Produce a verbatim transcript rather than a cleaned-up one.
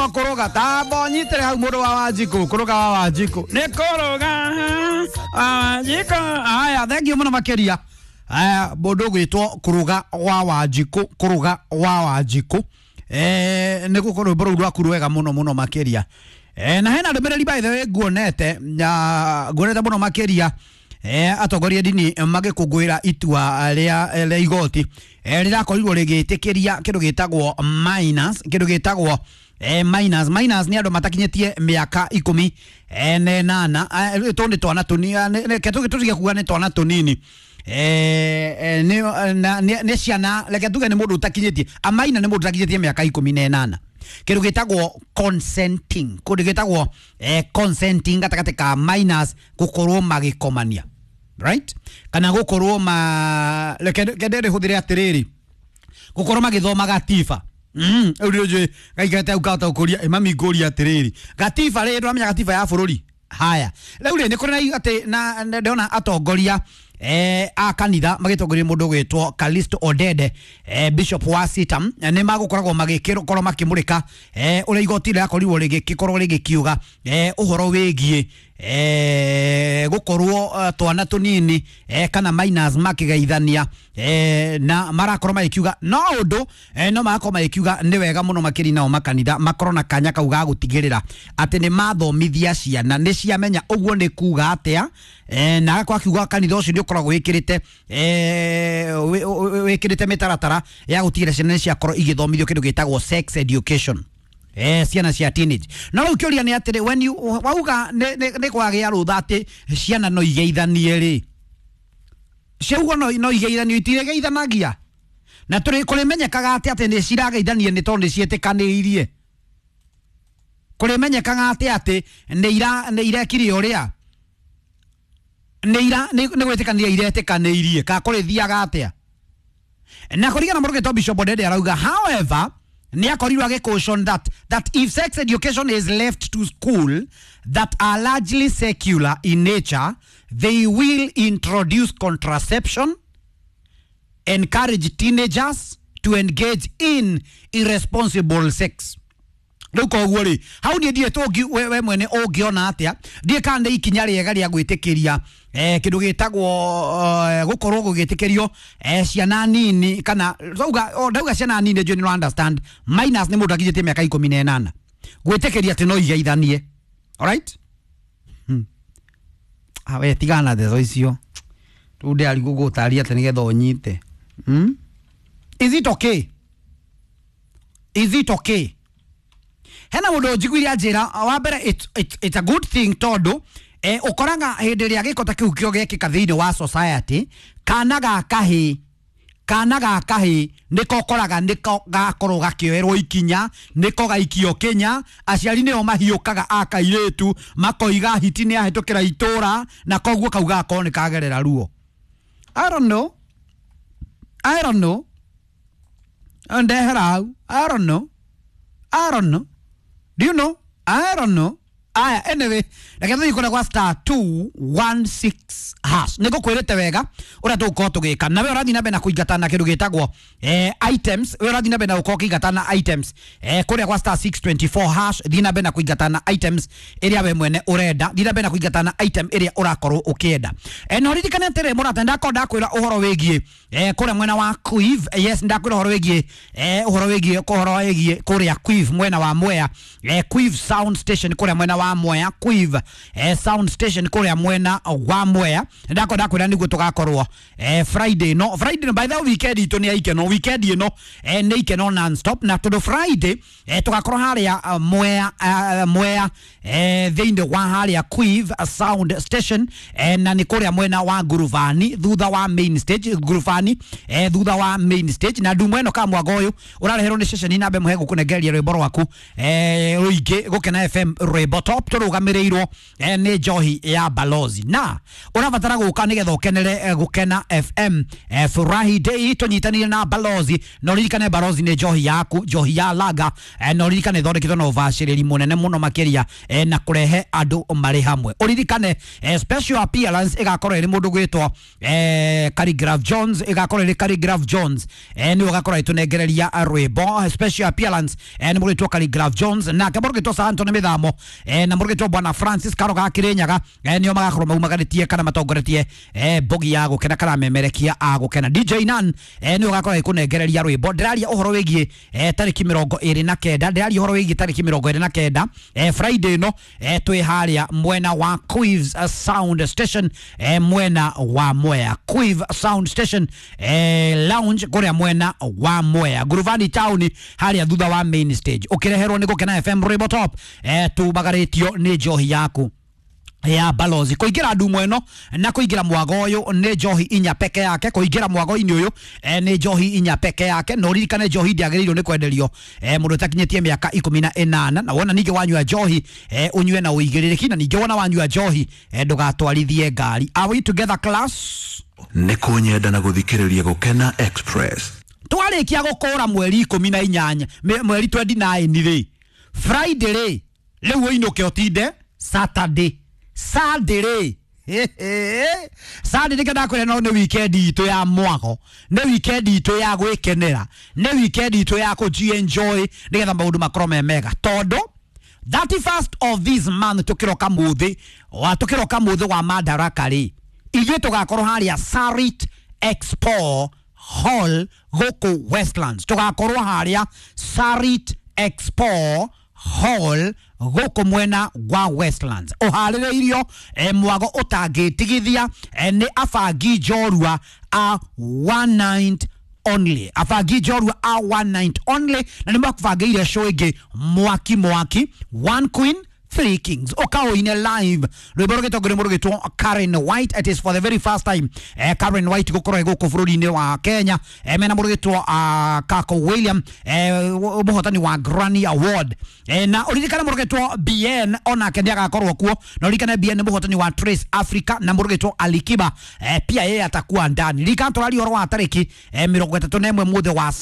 Gwĩtwo kũrũga tambo nyitĩre hau mũndũ wa Wanjikũ kũrũga wa Wanjikũ nĩ kũrũga Wanjikũ. Aya, thank you mũno makĩria. Aya, mũndũ ũgwĩtwo kũrũga wa Wanjikũ, kũrũga wa Wanjikũ, eh nĩ gũkorwo rwĩmbo rũu rwaku rwega mũno mũno makĩria. Eh na hena ndũmĩrĩri by the way nguonete na nguonete mũno makĩria, eh atongoria ndini magĩkũngũĩra itua rĩa rĩa igoti eh rĩrakorirwo rĩgĩtĩkĩria kĩndũ gĩtagwo minors, kĩndũ gĩtagwo eh minors. Minors nĩ andũ matakinyĩtie mĩaka ikũmi eh na ĩnana. Eh, tũ nĩ twana tũnini, reke tũtige kuga nĩ twana tũnini, eh eh, nĩ na- nĩ nĩ ciana, reke tuge nĩ mũndũ ũtakinyĩtie, a minor nĩ mũndũ ũtakinyĩtie mĩaka ikũmi na ĩnana. Kĩndũ gĩtagwo consenting, kũndũ gĩtagwo eh, consenting gatagatĩ ka minors gũkorwo magĩkomania, right, kana gũkorwo ma reke reke ndĩrĩhũthĩre atĩrĩrĩ, gũkorwo magĩthoma gatiba. Mm, rĩu nĩ njũĩ gaikarĩte hau kahota gũkũria ĩ mami ngũria atĩrĩrĩ, gatiba rĩ, ndũramenya gatiba ya bũrũri? Haya, rĩu rĩ, nĩ kũrĩ na atĩ na na ndĩrona atongoria eh, a kanitha magĩtongoria mũndũ ũgwĩtwo Calisto Odede, eh, bishop wa Sitam, eh, nĩ magũkoragwo magĩkorwo makĩmũrĩka eh, ũrĩa igoti rĩrakorirwo rĩgĩkorwo rĩgĩkiuga eh, ũhoro wĩgiĩ eh, gũkorwo eh, twana tũnini eh, kana minors makĩgeithania, eh, na marakorwo magĩkiuga no ũndũ eh, no marakorwo magĩkiuga nĩ wega mũno makĩria nao makanitha makorwo na kanya kau ga gũtigĩrĩra atĩ nĩ mathomithia ciana nĩ ciamenya ũguo nĩ kuga atĩa, eh, na agakorwo akiuga kanitha ũcio nĩ ũkoragwo wĩkĩrĩte eh, wĩ- wĩ- wĩkĩrĩte mĩtaratara ya gũtigĩrĩra ciana nĩ ciakorwo igĩthomithio kĩndũ gĩtagwo sex education, eh ciana cia teenage. No rĩu kĩũria nĩ atĩrĩ, when you wauga nĩ nĩ- nĩ kwagĩa rũtha atĩ ciana no igeithanie rĩ, ciaugo no no igeithanio, itigeithanagia na tũrĩ kũrĩmenyekaga atĩ atĩ nĩ cirageithania nĩ tondũ nĩ ciĩtĩkanĩirie? Kũrĩmenyekaga atĩ atĩ nĩ ira nĩ irekire ũrĩa nĩ ira nĩ nĩ gwĩtĩkanĩria iretĩkanĩirie, kana kũrĩthiaga atĩa? Na kũringana na mũrũgĩtwo Bishop Odede arauga, however, nĩ akorirwo agĩcaution that that if sex education is left to school that are largely secular in nature, they will introduce contraception, encourage teenagers to engage in irresponsible sex. Rĩu koguo rĩ, hau niĩ ndirĩ tũngi we, we mwene ũngĩona atĩa? Ndiĩ kana nĩ ikinya rĩega rĩa gwĩtĩkĩria eh, kĩndũ gĩtagwo eh, gũkorwo gũgĩtĩkĩrio eh, ciana nini, kana ndauga oh, ndauga ciana nini, njũĩ nĩ understand minors nĩ mũndũ akinyĩtie mĩaka ikũmi na ĩnana, gwĩtĩkĩria atĩ no igeithanie. Alright, hmm. Ah, we tigana na ndeto icio rĩu ndĩrarigwo gũgũtaria atĩ nĩgetha ũnyite, hmm? Is it okay? Is it okay? Hena mũndũ njiguire anjĩra wa mbere it's, it's, it's a good thing tondũ eh, ũkoraga hĩndĩ ĩrĩa gĩko ta kĩu kĩo gĩekĩka thĩinĩ wa society, kana ga kahĩ kana ga kahĩ nĩko ũkoraga nĩko gakorwo gakĩoerwo ikinya, nĩko gaikio kĩnya, aciari nĩo mahiũkaga a kairĩtu makoiga hiti nĩ ahĩtũkĩra itũra, na koguo kau gakorwo nĩ kagerera ruo. I don't know, I don't know, ndehera hau. I don't know, I don't know. Do you know? I don't know. Aya, anyway, reke tũthiĩ kũrĩa gwa star two one six hash. Nĩ ngũkwĩrĩte wega ũrĩa tũgũkorwo tũgĩka. Na we ũrathiĩ na mbere na kũingata na kĩndũ gĩtagwo eh, items. We ũrathiĩ na mbere na gũkorwo ũkĩingata na items. Eh, kũrĩa gwa star six two four hash, thiĩ na mbere na kũingata na items ĩrĩa we mwene ũrenda. Thiĩ na mbere na kũingata na item ĩrĩa ũrakorwo ũkĩenda. Eh, na ũririkane atĩrĩ mũrata, ndakorwo ndakwĩra ũhoro wĩgiĩ eh, kũrĩa mwena wa Quiv. Yes, ndakwĩra ũhoro wĩgiĩ eh, ũhoro wĩgiĩ ũhoro wĩgiĩ kũrĩa Quiv mwena wa Mwea, eh, Quiv sound station kũrĩa mwena wa Mwea, Quiv eh, sound station kũrĩa mwena wa Mwea. Ndakorwo ndakwĩra nĩguo tũgakorwo eh, Friday, no Friday, by the way, weekend itũ nĩ ya ikeno, weekend ĩno eh, nĩ ikeno non stop, na tondũ Friday eh, tũgakorwo harĩa uh, Mwea, uh, Mwea eh, thĩinĩ wa harĩa Quiv sound station, eh, na nĩ kũrĩa mwena wa Ngurubani thutha wa main stage, Ngurubani eh, thutha wa main stage. Na ndumo ĩno ka mwago ũyũ ũrareherwo nĩ ceceni namba ĩmwe gũkũnengereria rwĩmbo rwaku eh, rũingĩ, Gũkena F M, rwĩmbo top. Top tũrũgamĩrĩirwo eh, nĩ njohi ya Balozi, na ũrabatara gũka nĩgetha ũkenere eh, Gũkena F M eh, Furahi Day tũnyitanĩire na Balozi. Na ũririkane Balozi nĩ njohi yaku, njohi ya laga eh, na ũririkane ĩthondeketwo na ũbacĩrĩri mũnene mũno makĩria eh, na kũrehe andũ marĩ hamwe. Ũririkane eh, special appearance ĩgakorwo ĩrĩ mũndũ gwĩtwo eh, Khaligraph Jones, ĩgakorwo ĩrĩ Khaligraph Jones eh, nĩwe ũgakorwo ĩtũnengereria rwĩmbo. Special appearance eh, nĩ mũndũ gwĩtwo Khaligraph Jones, nake mũndũ gwĩtwo Sir Anthony Mĩthamo eh, na mũndũ gwĩtwo Bwana Francis Karo ga Kĩrĩnyaga eh, nĩo magakorwo maumagarĩtie kana matongoretie eh, mbogi ya gũkena kana memerekia a gũkena. D J Nan eh, nĩwe ũgakorwo ĩkũnengereria rwĩmbo. Ndĩraria ũhoro wĩgiĩ eh, tarĩki mĩrongo ĩrĩ na kenda, ndĩraria ũhoro wĩgiĩ tarĩki mĩrongo ĩrĩ na kenda eh, Friday ĩno eh, twĩ harĩa mwena wa Quives Sound Station eh, mwena wa Mwea, Quive Sound Station eh, Lounge kũrĩa mwena wa Mwea, Nguruvani Town harĩa thutha wa main stage, ũkĩreherwo nĩ Gũkena F M Rwĩmbo Top eh, tumagarĩtio nĩ njohi yaku ya Balozi. Kũingĩra ndumo ĩno na kũingĩra mwago ũyũ nĩ njohi inya peke yake. Kũingĩra mwago-inĩ ũyũ eh, nĩ njohi inya peke yake. Na ũririkane njohi ndĩagĩrĩirwo nĩ kwenderio eh, mũndũ ũtakinyĩtie mĩaka ikũmi na ĩnana. Na wona ningĩ wanyua njohi eh, ũnyue na ũigĩrĩrĩki, na ningĩ wona wanyua njohi eh, ndũgatwarithie ngari. Are we together, class? Nĩ kũnyenda na gũthikĩrĩria Gũkena Express. Twarĩkia gũkũra mweri ikũmi na inyanya, mweri twenty nine rĩ, Friday rĩ, rĩu ũinũke ũtinde Saturday. Sunday rĩ, Sunday nĩkĩo ndakwĩra no nĩ weekend itũ ya mwago, nĩ weekend itũ ya gwĩkenera, nĩ weekend itũ ya kũji-enjoy nĩgetha maũndũ makorwo me mega, tondũ thirty first of this month tũkĩroka mũthĩ wa tũkĩroka mũthĩ wa Madaraka rĩ, ithuĩ tũgakorwo harĩa Sarit Expo Hall gũkũ Westlands. Tũgakorwo harĩa Sarit Expo Hall gũkũ mwena wa Westlands, ũharĩrĩirio eh, mwago ũtangĩtigithia eh, nĩ abangi njorua a one night only, abangi njorua a one night only, na nĩ makũbangĩire show ĩngĩ mwaki mwaki, one queen three kings, ũkaũine live rwĩmbo rũgĩtongorio nĩ mũndũ ũgĩtwo Karen White. It is for the very first time eh, Karen White gũkorwo gũkũ bũrũri-inĩ wa Kenya eh, mena mũndũ ũgĩtwo uh, Kako William eh, mũhotani wa Grammy Award eh, na ũririkane mũndũ ũgĩtwo B N onake nĩ agakorwo kuo, na ũririkane B N nĩ mũhotani wa Trace Africa, na mũndũ ũgĩtwo Alikiba eh, pia yeye atakuwa ndani. Ririkana tũraria ũhoro wa tarĩki eh, mĩrongo ĩtatũ na ĩmwe mũthĩ wa